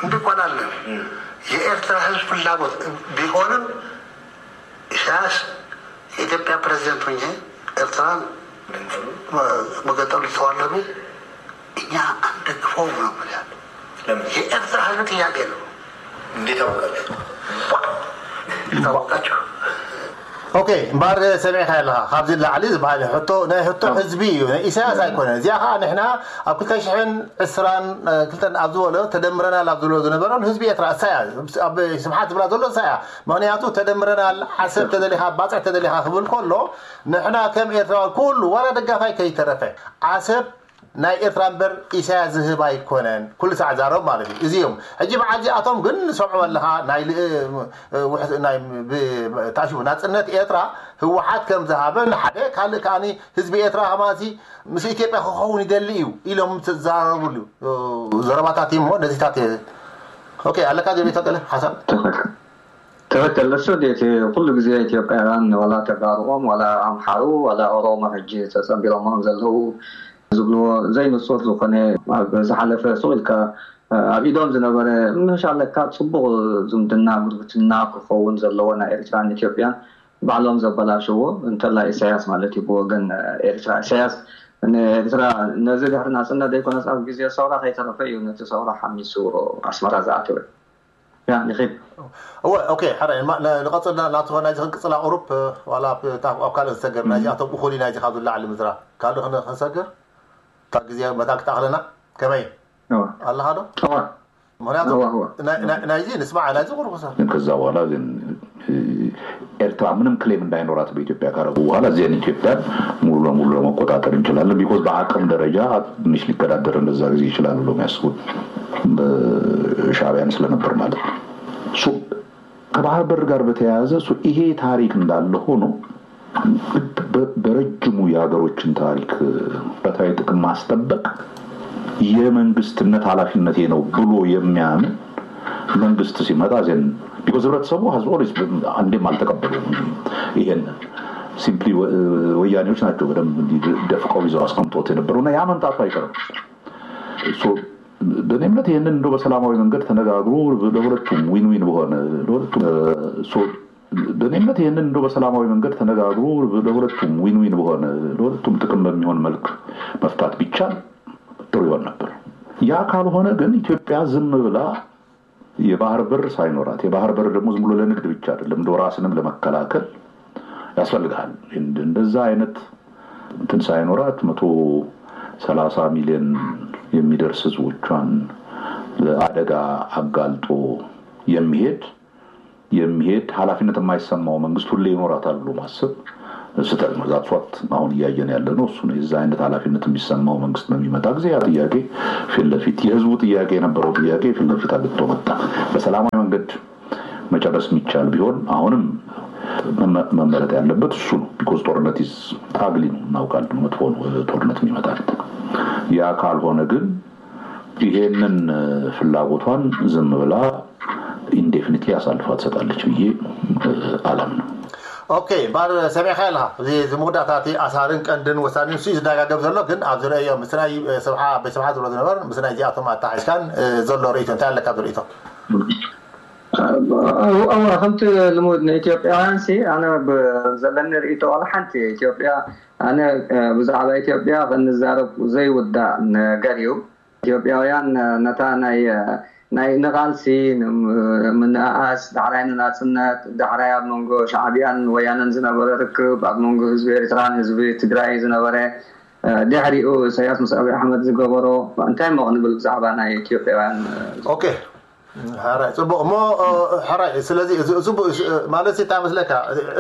እንዲቆናለን የኤርትራ ህዝብ ፍላጎት ቢሆንም ኢሳያስ የኢትዮጵያ ፕሬዚደንት ሆኜ ኤርትራን መገንጠሉ ተዋለዱ እኛ አንደግፈውም ነው የምልህ ያለው። ለምን? የኤርትራ ህዝብ ጥያቄ ነው። እንዴት አወቃችሁ? ታወቃችሁ? ኦኬ። እምበኣር ሰሚዕካ ኣለኻ ካብዚ ላዕሊ ዝበሃል ሕቶ ናይ ሕቶ ህዝቢ እዩ፣ ናይ ኢሳያስ ኣይኮነን። እዚኣ ከዓ ንሕና ኣብ ክልተ ሽሕን ዕስራን ክልተን ኣብ ዝበሎ ተደምረናል ኣብ ዝብሎ ዝነበረ ንህዝቢ ኤርትራ እሳ እያ። ኣብ ስብሓት ዝብላ ዘሎ እሳ እያ። ምክንያቱ ተደምረናል፣ ዓሰብ ተደሊኻ ባፅዕ ተደሊኻ ክብል ከሎ ንሕና ከም ኤርትራዊ ኩሉ ዋላ ደጋፋይ ከይተረፈ ዓሰብ ናይ ኤርትራ እምበር ኢሳያስ ዝህብ ኣይኮነን። ኩሉ ሳዕ ዛረብ ማለት እዩ። እዚ እዮም ሕጂ በዓል እዚኣቶም ግን ንሰምዖ ኣለኻ ናይ ል- ውሕ- ናይ ብ- ታሽቡ ናፅነት ኤርትራ ህወሓት ከም ዝሃበ ንሓደ ካልእ ከዓኒ ህዝቢ ኤርትራ ከማሲ ምስ ኢትዮጵያ ክኸውን ይደሊ እዩ ኢሎም ዝዛረብሉ ዘረባታት እሞ ነዚታት እየ- ኦኬ ኣለካ ጀቤቶ ቀለ ሓሳብ ትኽክል። ትኽክል። እሱ እቲ ኩሉ ግዜ ኢትዮጵያውያን ዋላ ተጋሩኦም ዋላ ኣምሓሩ ዋላ ኦሮሞ ሕጂ ተፀንቢሮሞም ዘለዉ ዝብልዎ ዘይንፁር ዝኾነ ኣብ ዝሓለፈ ሱቕ ኢልካ ኣብ ኢዶም ዝነበረ ምሻለካ ፅቡቕ ዝምድና ጉርብትና ክኸውን ዘለዎ ናይ ኤርትራን ኢትዮጵያን ባዕሎም ዘበላሽዎ እንተላ ኢሳያስ ማለት እዩ ብወገን ኤርትራ ኢሳያስ ንኤርትራ ነዚ ድሕሪ ናፅነት ዘይኮነስ ኣብ ግዜ ሰውራ ከይተረፈ እዩ ነቲ ሰውራ ሓሚሱ ኣስመራ ዝኣተወ ያ ንኺድ እወ ኦኬ ሓራይ ንቐፅልና ናቱ ናይዚ ክንቅፅላ ቁሩብ ዋላ ኣብ ካልእ ዝሰገር ናይዚኣቶም እኹል ናይዚ ካብ ዝላዕሊ ምዝራ ካልእ ክንሰግር እታ ግዜ መታን ክትኣኽለና ከመይ ኣለኻ ዶ ምክንያቱ ናይዚ ንስማዕ ናይዚ ቁርቁሰ ከዛ በኋላ ግን ኤርትራ ምንም ክሌም እንዳይኖራት በኢትዮጵያ ካረጉ በኋላ እዚን ኢትዮጵያን ሙሉ ለሙሉ ለመቆጣጠር እንችላለን። ቢኮዝ በአቅም ደረጃ ትንሽ ሊገዳደር እንደዛ ጊዜ ይችላል ብሎ የሚያስቡት ሻዕቢያን ስለነበር ማለት ነው። ከባህር በር ጋር በተያያዘ ይሄ ታሪክ እንዳለ ሆኖ በረጅሙ የሀገሮችን ታሪክ ብረታዊ ጥቅም ማስጠበቅ የመንግስትነት ኃላፊነቴ ነው ብሎ የሚያምን መንግስት ሲመጣ ዜን because ህብረተሰቡ has always አንዴም አልተቀበሉም። ይሄን simply ወያኔዎች ናቸው በደንብ ደፍቀው ይዘው አስቀምጦት የነበረው እና ያ መምጣቱ አይቀርም። በእኔ እምነት ይህንን እንደው በሰላማዊ መንገድ ተነጋግሮ ለሁለቱም win win በሆነ ለሁለቱም በእኔ እምነት ይህንን እንደው በሰላማዊ መንገድ ተነጋግሮ ለሁለቱም win win በሆነ ለሁለቱም ጥቅም በሚሆን መልክ መፍታት ቢቻል ጥሩ ይሆን ነበር። ያ ካልሆነ ግን ኢትዮጵያ ዝም ብላ የባህር በር ሳይኖራት፣ የባህር በር ደግሞ ዝም ብሎ ለንግድ ብቻ አይደለም፣ እንደ ራስንም ለመከላከል ያስፈልግሃል። እንደዛ አይነት እንትን ሳይኖራት መቶ ሰላሳ ሚሊዮን የሚደርስ ህዝቦቿን ለአደጋ አጋልጦ የሚሄድ የሚሄድ ኃላፊነት የማይሰማው መንግስት ሁሌ ይኖራታል ብሎ ማሰብ ስህተት ነው። ዛትሷት አሁን እያየን ያለ ነው እሱ ነው። የዛ አይነት ኃላፊነት የሚሰማው መንግስት በሚመጣ ጊዜ ያ ጥያቄ ፊት ለፊት የህዝቡ ጥያቄ የነበረው ጥያቄ ፊት ለፊት አግጥቶ መጣ። በሰላማዊ መንገድ መጨረስ የሚቻል ቢሆን አሁንም መመረጥ ያለበት እሱ ነው። ቢኮዝ ጦርነት ታግሊ ነው እናውቃለን። መጥፎ ነው ጦርነት የሚመጣል። ያ ካልሆነ ግን ይሄንን ፍላጎቷን ዝም ብላ ኢንዴፊኒትሊ አሳልፋ ትሰጣለች ብዬ አላምንም። ኦኬ ባር ሰሚዕካ ኣለካ እዚ እዚ መወዳእታ እቲ ኣሳርን ቀንድን ወሳንን ንሱ እዩ ዝደጋገብ ዘሎ ግን ኣብ ዝረአዮ ምስ ናይ ስብሓ ኣበይ ስብሓ ዝብሎ ዝነበር ምስ ናይ እዚኣቶም ኣተሓሒዝካን ዘሎ ርእይቶ እንታይ ኣለካ ዝርእይቶ ከምቲ ልሙድ ንኢትዮጵያውያን ሲ ኣነ ዘለኒ ርእይቶ ዋላ ሓንቲ ኢትዮጵያ ኣነ ብዛዕባ ኢትዮጵያ ክንዛረብ ዘይውዳእ ነገር እዩ ኢትዮጵያውያን ነታ ናይ ናይ ንቓልሲ ምንእኣስ ዳሕራይ ንናፅነት ዳሕራይ ኣብ መንጎ ሻዕቢያን ወያነን ዝነበረ ርክብ ኣብ መንጎ ህዝቢ ኤርትራን ህዝቢ ትግራይ ዝነበረ ድሕሪኡ ኢሳያስ ምስ ኣብይ ኣሕመድ ዝገበሮ እንታይ እሞ ክንብል ብዛዕባ ናይ ኢትዮጵያውያን ኦኬ ሕራይ ፅቡቅ እሞ ሕራይ ስለዚ ማለት እንታይ መስለካ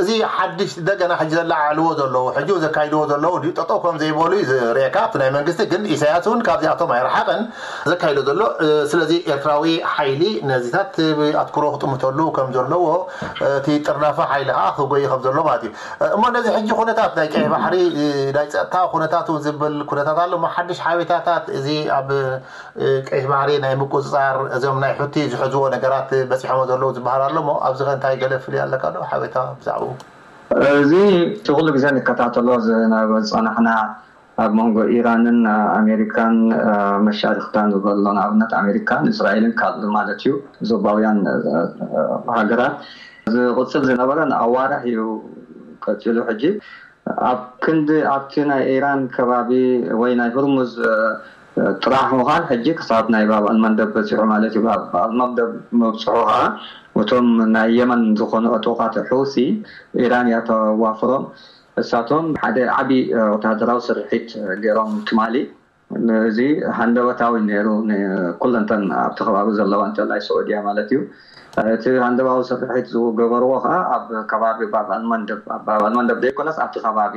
እዚ ሓድሽ እንደገና ሕጂ ዘለዓዕልዎ ዘለዉ ሕጂ ዘካይድዎ ዘለዉ ድዩ ጠጠው ከም ዘይበሉ እዩ ዝርእየካ ኣብቲ ናይ መንግስቲ ግን ኢሳያስ እውን ካብዚኣቶም ኣይረሓቀን ዘካይዶ ዘሎ ስለዚ ኤርትራዊ ሓይሊ ነዚታት ኣትኩሮ ክጥምተሉ ከም ዘለዎ እቲ ጥርናፈ ሓይሊ ከዓ ክጎይ ከም ዘሎ ማለት እዩ እሞ ነዚ ሕጂ ኩነታት ናይ ቀይ ባሕሪ ናይ ፀጥታ ኩነታቱ ዝብል ኩነታት ኣሎ ሓድሽ ሓቤታታት እዚ ኣብ ቀይሕ ባሕሪ ናይ ምቁፅፃር እዞም ናይ ሑቲ ዝሕዝዎ ነገራት በፂሖሞ ዘለዉ ዝበሃል ኣሎ ሞ ኣብዚ ከ እንታይ ገለ ፍልይ ኣለካ ዶ ሓበሬታ ብዛዕባኡ እዚ እቲ ኩሉ ግዜ ንከታተሎ ዝነበ ዝፀናሕና ኣብ መንጎ ኢራንን ኣሜሪካን መሻርክታን ዝበሎ ንኣብነት ኣሜሪካን እስራኤልን ካልእ ማለት እዩ ዞባውያን ሃገራት ዝቕፅል ዝነበረ ንኣዋርሕ እዩ ቀፂሉ ሕጂ ኣብ ክንዲ ኣብቲ ናይ ኢራን ከባቢ ወይ ናይ ሁርሙዝ ጥራሕ ምዃን ሕጂ ክሳብ ናይ ባብ ኣልመንደብ በፂሑ ማለት እዩ። ባብ ኣልመንደብ መብፅሑ ከዓ እቶም ናይ የመን ዝኾኑ ዕጡቓት ሑሲ ኢራን እያ ተዋፍሮም። እሳቶም ሓደ ዓቢ ወተሃደራዊ ስርሒት ገይሮም ትማሊ። እዚ ሃንደበታዊ ነይሩ ኩለንተን ኣብቲ ከባቢ ዘለዋ እንተላይ ስዑድያ ማለት እዩ። እቲ ሃንደባዊ ስርሒት ዝገበርዎ ከዓ ኣብ ከባቢ ባብ ኣልመንደብ ኣብ ባብ ኣልመንደብ ዘይኮነስ ኣብቲ ከባቢ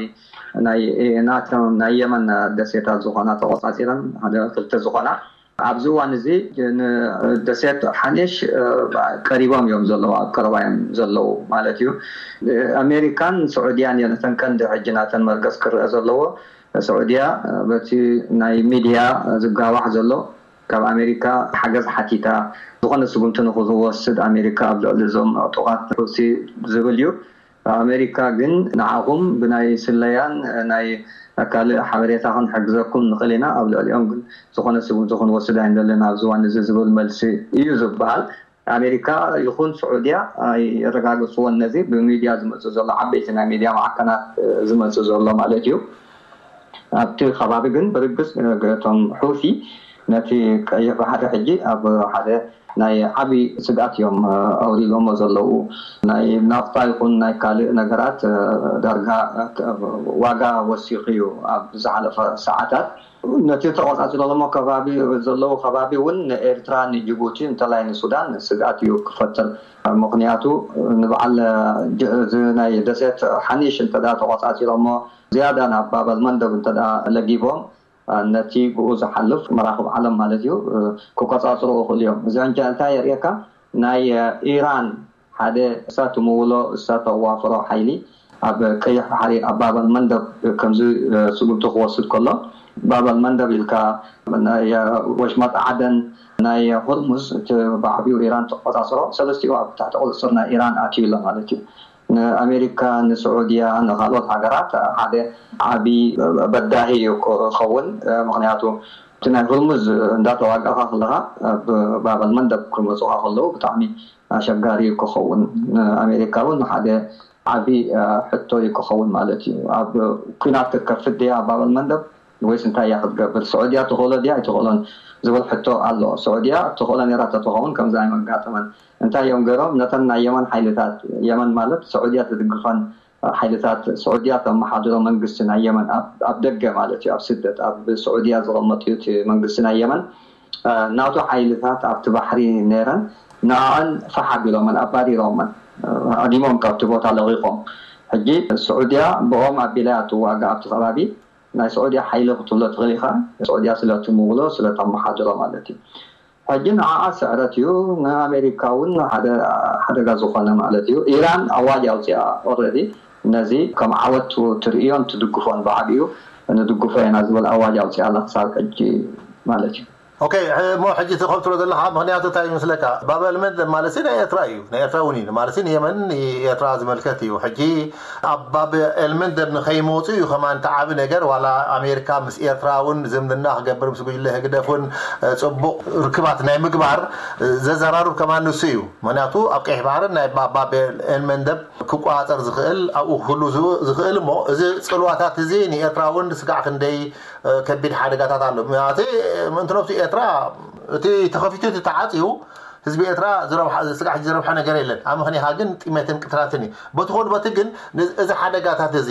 ናይ ናቶም ናይ የመን ደሴታት ዝኾና ተቆፃፂረን ሓደ ክልተ ዝኾና ኣብዚ እዋን እዚ ንደሴት ሓኒሽ ቀሪቦም እዮም ዘለዉ ኣብ ቀረባ እዮም ዘለዉ ማለት እዩ ኣሜሪካን ስዑድያን እየን እተን ቀንዲ ሕጂ ናተን መርገፅ ክረአ ዘለዎ ስዑድያ በቲ ናይ ሚድያ ዝጋዋሕ ዘሎ ካብ ኣሜሪካ ሓገዝ ሓቲታ ዝኾነ ስጉምቲ ንክዝወስድ ኣሜሪካ ኣብ ልዕሊ እዞም ዕጡቓት ሑቲ ዝብል እዩ ኣሜሪካ ግን ንዓኹም ብናይ ስለያን ናይ ካልእ ሓበሬታ ክንሕግዘኩም ንኽእል ኢና ኣብ ልዕሊኦም ግን ዝኾነ ስጉምቲ ክንወስድ ኣይንደልን ኣብዚ እዋን እዚ ዝብል መልሲ እዩ ዝበሃል ኣሜሪካ ይኹን ስዑድያ ኣይረጋገፅዎን ነዚ ብሚድያ ዝመፅእ ዘሎ ዓበይቲ ናይ ሚድያ ማዕከናት ዝመፅእ ዘሎ ማለት እዩ ኣብቲ ከባቢ ግን ብርግፅ እቶም ሑቲ ነቲ ቀይሕ ባሕሪ ሕጂ ኣብ ሓደ ናይ ዓብዪ ስግኣት እዮም ኣውሪዶሞ ዘለዉ ናይ ናፍታ ይኹን ናይ ካልእ ነገራት ዳርጋ ዋጋ ወሲኹ እዩ ኣብ ዝሓለፈ ሰዓታት ነቲ ተቆፃፂሮሞ ከባቢ ዘለዉ ከባቢ እውን ንኤርትራ ንጅቡቲ እንተላይ ንሱዳን ስግኣት እዩ ክፈጥር ምክንያቱ ንበዓል እዚ ናይ ደሴት ሓኒሽ እንተ ተቆፃፂሮሞ ዝያዳ ናብ ባበል መንደብ እንተ ለጊቦም ነቲ ብኡ ዝሓልፍ መራኽብ ዓለም ማለት እዩ ክቆፃፅሩ ይኽእሉ እዮም እዚ ሕጂ እንታይ የርእየካ ናይ ኢራን ሓደ እሳ ትምውሎ እሳ ተዋፍሮ ሓይሊ ኣብ ቀይሕ ባሕሪ ኣብ ባበል መንደብ ከምዚ ስጉምቲ ክወስድ ከሎ ባበል መንደብ ኢልካ ወሽመጥ ዓደን ናይ ሆርሙዝ እቲ ብዓቢኡ ኢራን ትቆፃፀሮ ሰለስቲኡ ኣብ ትሕቲ ቁፅፅር ናይ ኢራን ኣትዩ ኣሎ ማለት እዩ ንኣሜሪካ ንስዑድያ ንካልኦት ሃገራት ሓደ ዓቢ በዳሂ እዩ ክኸውን ምክንያቱ እቲ ናይ ሆርሙዝ እንዳተዋጋእካ ከለካ ባበል መንደብ ክመፁካ ከለዉ ብጣዕሚ ኣሸጋሪ ክኸውን ንኣሜሪካ እውን ሓደ ዓቢ ሕቶ እዩ ክኸውን ማለት እዩ ኣብ ኩናት ክትከፍት ድያ ኣብ ባበል መንደብ ወይስ እንታይ እያ ክትገብር? ስዑድያ ትኽእሎ ድያ ኣይትኽእሎን ዝብል ሕቶ ኣሎ። ስዑድያ ትኽእሎ ነይራ ተትኸውን ከምዚ ኣይመጋጠመን። እንታይ እዮም ገይሮም? ነተን ናይ የመን ሓይልታት፣ የመን ማለት ስዑድያ ትድግፈን ሓይልታት፣ ስዑድያ ተመሓድሮ መንግስቲ ናይ የመን ኣብ ደገ ማለት እዩ፣ ኣብ ስደት ኣብ ስዑድያ ዝቐመጡ እቲ መንግስቲ ናይ የመን ናቱ ሓይልታት ኣብቲ ባሕሪ ነይረን ንኣን ፋሕ ኣቢሎመን ኣባሪሮመን፣ ኣዲሞም ካብቲ ቦታ ለቒቖም። ሕጂ ስዑድያ ብኦም ኣቢላ እያ ትዋጋ ኣብቲ ከባቢ። ናይ ስዑድያ ሓይሊ ክትብሎ ትኽእል ኢኻ። ስዑድያ ስለትምውሎ ስለተመሓድሮ ማለት እዩ። ሕጂ ንዓኣ ስዕረት እዩ፣ ንኣሜሪካ እውን ሓደ ሓደጋ ዝኾነ ማለት እዩ። ኢራን ኣዋጅ ኣውፅኣ ኦረዲ፣ ነዚ ከም ዓወት ትርእዮን ትድግፎን ብዓብዩ ንድግፎ ኢና ዝብል ኣዋጅ ኣውፅኣ ኣላ ክሳብ ሕጂ ማለት እዩ። ኦኬ። እሞ ሕጂ እቲ ከምትሎ ዘለካ ምክንያቱ እንታይ ይመስለካ? ባብ ኤልመንደብ ማለት ናይ ኤርትራ እዩ፣ ናይ ኤርትራ እውን እዩ ማለት ንየመን ንኤርትራ ዝመልከት እዩ። ሕጂ ኣብ ባብ ኤልመንደብ ንኸይመፁ እዩ ከማን ተዓቢ ነገር። ዋላ ኣሜሪካ ምስ ኤርትራ እውን ዝምድና ክገብር ምስ ጉጅለ ህግደፍ እውን ፅቡቕ ርክባት ናይ ምግባር ዘዘራርብ ከማን ንሱ እዩ። ምክንያቱ ኣብ ቀይሕ ባህርን ናይ ባብ ኤልመንደብ ክቋፀር ዝኽእል ኣብኡ ክህሉ ዝኽእል እሞ እዚ ፅልዋታት እዚ ንኤርትራ እውን ስጋዕ ክንደይ ከቢድ ሓደጋታት ኣሎ። ምእንቲ ነብሱ ኤርትራ እቲ ተኸፊቱ እቲ ተዓፅዩ ህዝቢ ኤርትራ ስጋዕ ዝረብሐ ነገር የለን። ኣብ ምኽንያኻ ግን ጥሜትን ቅትራትን እዩ። በቲ ኮል በቲ ግን እዚ ሓደጋታት እዚ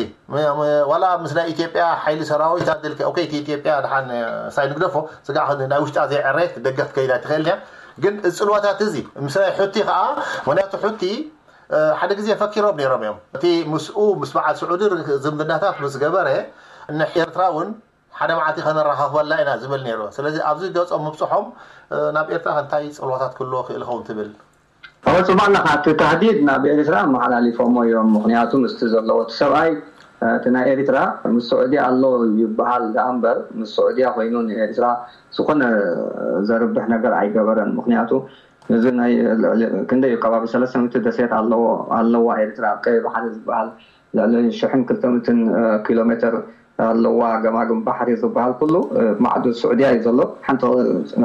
ዋላ ምስ ናይ ኢትዮጵያ ሓይሊ ሰራዊት ኣድልከ ኦኬ፣ ኢትዮጵያ ድሓን ሳይ ንግደፎ ስጋዕ ናይ ውሽጣ ዘይዕረየት ደገ ክትከይዳ ትኽእል እያ። ግን እዚ ፅልዋታት እዚ ምስ ናይ ሑቲ ከዓ ምክንያቱ ሑቲ ሓደ ግዜ ፈኪሮም ነይሮም እዮም። እቲ ምስኡ ምስ በዓል ስዑዲ ዝምድናታት ምስ ገበረ ንኤርትራ እውን ሓደ መዓልቲ ከነረኻኽበላ ኢና ዝብል ነይሩ። ስለዚ ኣብዚ ገጾም ምብፅሖም ናብ ኤርትራ እንታይ ፅልዋታት ክህልዎ ክእል ኸውን ትብል? ኣወ ፅባሕ ኣለካ። እቲ ታህዲድ ናብ ኤርትራ መሓላሊፎሞ እዮም። ምክንያቱ ምስቲ ዘለዎ እቲ ሰብኣይ እቲ ናይ ኤርትራ ምስ ስዑዲ ኣሎ ይበሃል ደኣ እምበር ምስ ስዑድያ ኮይኑ ንኤርትራ ዝኾነ ዘርብሕ ነገር ኣይገበረን። ምክንያቱ እዚ ናይ ክንደይ እዩ ከባቢ ሰለስተ ሚእቲ ደሴት ኣለዎ ኣለዋ ኤርትራ ኣብ ቀይ ባሕሪ ዝበሃል ልዕሊ ሽሕን ክልተ ሚእትን ኪሎ ሜትር ኣለዋ። ገማግም ባሕሪ ዝበሃል ኩሉ ማዕዶ ስዑድያ እዩ ዘሎ። ሓንቲ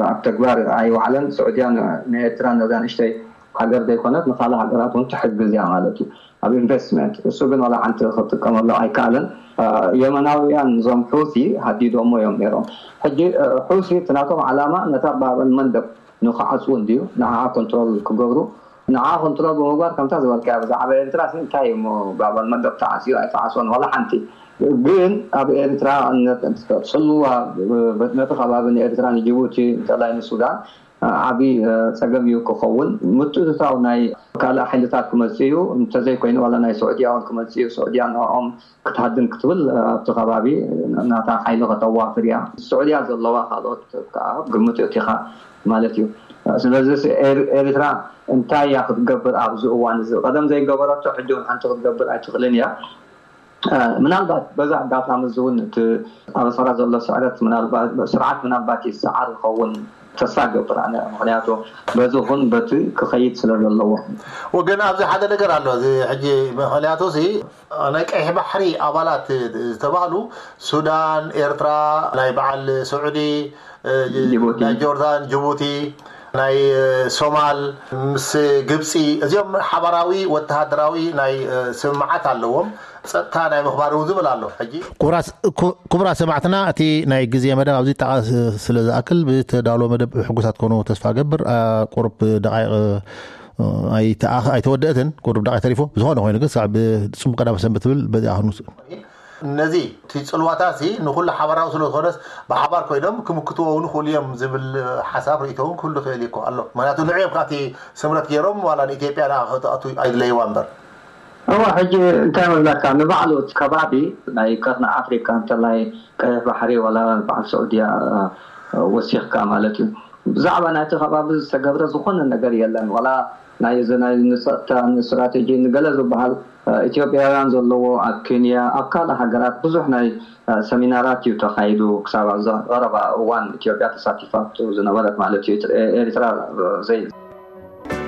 ኣብ ተግባር ኣይወዓለን። ስዑድያ ንኤርትራ ነዛ ንእሽተይ ሃገር ዘይኮነት ንካልእ ሃገራት እውን ትሕግዝ እያ ማለት እዩ ኣብ ኢንቨስትመንት። እሱ ግን ዋላ ሓንቲ ክጥቀመሉ ኣይከኣለን። የመናውያን እዞም ሑቲ ሃዲዶሞ እዮም ነይሮም። ሕጂ ሑቲ እቲ ናቶም ዓላማ ነታ ባብ ኤልመንደብ ንክዓፅው እንድዩ ንዓኣ ኮንትሮል ክገብሩ። ንዓ ኮንትሮል ብምግባር ከምታ ዝበልካያ ብዛዕባ ኤርትራ እንታይ እሞ ባብ ኤልመንደብ ተዓፅዩ ኣይተዓፅወን ዋላ ሓንቲ። ግን ኣብ ኤርትራ ፅልዋ ነቲ ከባቢ ንኤርትራ ንጅቡቲ እንተላይ ንሱዳን ዓብዪ ፀገም እዩ ክኸውን። ምትእትታው ናይ ካልእ ሓይልታት ክመፅእ እዩ እንተዘይኮይኑ ዋላ ናይ ስዑድያ እውን ክመፅእ እዩ። ስዑድያ ንዕኦም ክትሃድን ክትብል ኣብቲ ከባቢ ናታ ሓይሊ ከተዋፍር እያ። ስዑድያ ዘለዋ ካልኦት ከዓ ግምት እቲኻ ማለት እዩ። ስለዚ ኤርትራ እንታይ እያ ክትገብር ኣብዚ እዋን እዚ? ቀደም ዘይገበረቶ ሕጂ እውን ሓንቲ ክትገብር ኣይትኽእልን እያ። ምናልባት በዛ ኣጋጣሚ እዚ እውን እቲ ኣብ ኣስመራ ዘሎ ስዕረት ስርዓት ምናልባት ይሰዓር ይኸውን ተስፋ ገብር ኣነ። ምክንያቱ በዚ ኹን በቲ ክኸይድ ስለ ዘለዎ። ወገን ኣብዚ ሓደ ነገር ኣሎ። እዚ ሕጂ ምክንያቱ እዚ ናይ ቀይሕ ባሕሪ ኣባላት ዝተባህሉ ሱዳን፣ ኤርትራ፣ ናይ በዓል ስዑዲ፣ ናይ ጆርዳን፣ ጅቡቲ፣ ናይ ሶማል ምስ ግብፂ እዚኦም ሓባራዊ ወተሃደራዊ ናይ ስምምዓት ኣለዎም። ፀጥታ ናይ ምኽባር እውን ዝብል ኣሎ። ሕጂ ክቡራት ሰማዕትና እቲ ናይ ግዜ መደብ ኣብዚ ጠቓስ ስለ ዝኣክል ብተዳሎ መደብ ሕጉሳት ኮኑ ተስፋ ገብር። ቁሩብ ደቃይቕ ኣይተወደእትን፣ ቁሩብ ደቃይ ተሪፎ። ብዝኾነ ኮይኑ ግን ሳዕ ብፅቡቅ ቀዳመ ሰንበት ትብል በዚኣ ክንውስእ። ነዚ እቲ ፅልዋታ ሲ ንኩሉ ሓባራዊ ስለ ዝኾነስ ብሓባር ኮይኖም ክምክትዎ እውን ይኽእሉ እዮም ዝብል ሓሳብ ርእቶ እውን ክህሉ ይኽእል እኮ ኣሎ። ምክንያቱ ንዕኦም ካብቲ ስምረት ገይሮም ዋላ ንኢትዮጵያ ደኣ ክተኣቱ ኣይድለይዋ እምበር። እወ ሕጂ እንታይ መብላካ ንባዕሉ እቲ ከባቢ ናይ ቀርኒ ኣፍሪካ እንተላይ ቀይሕ ባሕሪ ዋላ በዓል ስዑድያ ወሲኽካ ማለት እዩ። ብዛዕባ ናይቲ ከባቢ ዝተገብረ ዝኾነ ነገር የለን። ዋላ ናይ እዚ ናይ ንፀጥታ ንስትራቴጂ ንገለ ዝበሃል ኢትዮጵያውያን ዘለዎ ኣብ ኬንያ ኣብ ካልእ ሃገራት ብዙሕ ናይ ሰሚናራት እዩ ተኻይዱ ክሳብ ኣብዚ ቀረባ እዋን ኢትዮጵያ ተሳቲፋቶ ዝነበረት ማለት እዩ። ኤርትራ ዘይ